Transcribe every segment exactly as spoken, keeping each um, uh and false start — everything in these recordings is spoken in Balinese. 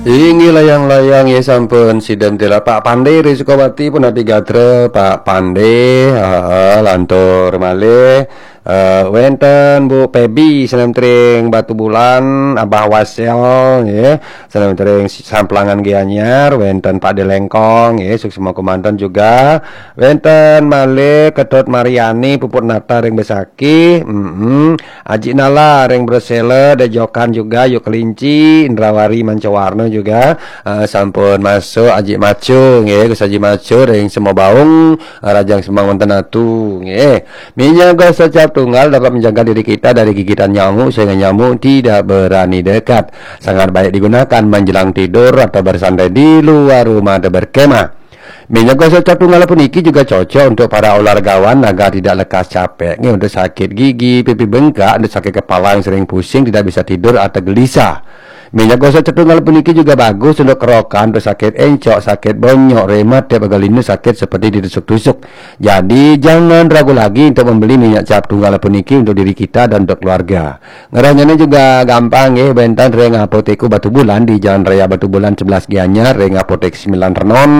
Inggih layang-layang ya sampun sida tela Pak Pande ring Sukawati punapa gatra Pak Pande, heeh, lantur malih eh, wenten Bu Pebi sané ring Batubulan, Abah Wasel nggih, sané ring Samplangan Gianyar, wenten Pak Delengkong nggih, suksma kemanten juga, wenten malih Ketut Mariani, Puput Nata ring Besakih, mm Aji Nala ring Bresela, Dejokan juga, Yuk Kelinci, Indrawari Mancawarna juga, eh, sampun masuk Aji Macu nggih, Gus Aji Macu ring Semobaung, eh, Rajang Semang wenten atu nggih. Minyak gosok cap tunggal dapat menjaga diri kita dari gigitan nyamuk sehingga nyamuk tidak berani dekat. Sangat baik digunakan menjelang tidur atau bersantai di luar rumah atau berkemah. Minyak gosok cap tunggal puniki juga cocok untuk para olahragawan agar tidak lekas capek. Ini untuk sakit gigi, pipi bengkak, untuk sakit kepala yang sering pusing, tidak bisa tidur atau gelisah. Minyak gosok cap tunggal puniki juga bagus untuk kerokan, untuk sakit encok, sakit bonyok, rematik, pegal linu, sakit seperti ditusuk-tusuk. Jadi jangan ragu lagi untuk membeli minyak cap tunggal puniki untuk diri kita dan untuk keluarga. Ngerehnyané juga gampang nggih, wénten ring Apotek Batubulan di Jalan Raya Batubulan sebelas Gianyar, ring Apotek sembilan Renon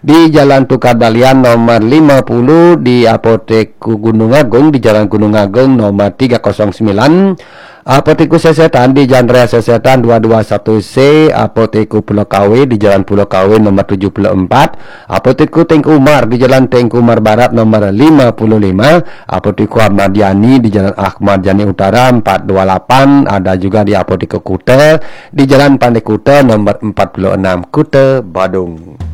di Jalan Tukad Dalian nomor lima puluh, di Apotek Gunung Agung di Jalan Gunung Agung nomor tiga kosong sembilan, Apotek Sesetan di Jalan Raya Sesetan dua dua satu C, Apotek Pulau Kawe di Jalan Pulau Kawe nomor tujuh puluh empat, Apotek Teuku Umar di Jalan Teuku Umar Barat nomor lima puluh lima, Apotek Ahmad Yani di Jalan Ahmad Yani Utara empat dua lapan, ada juga di Apotek Kuta di Jalan Pantai Kuta nomor empat puluh enam, Kuta, Badung.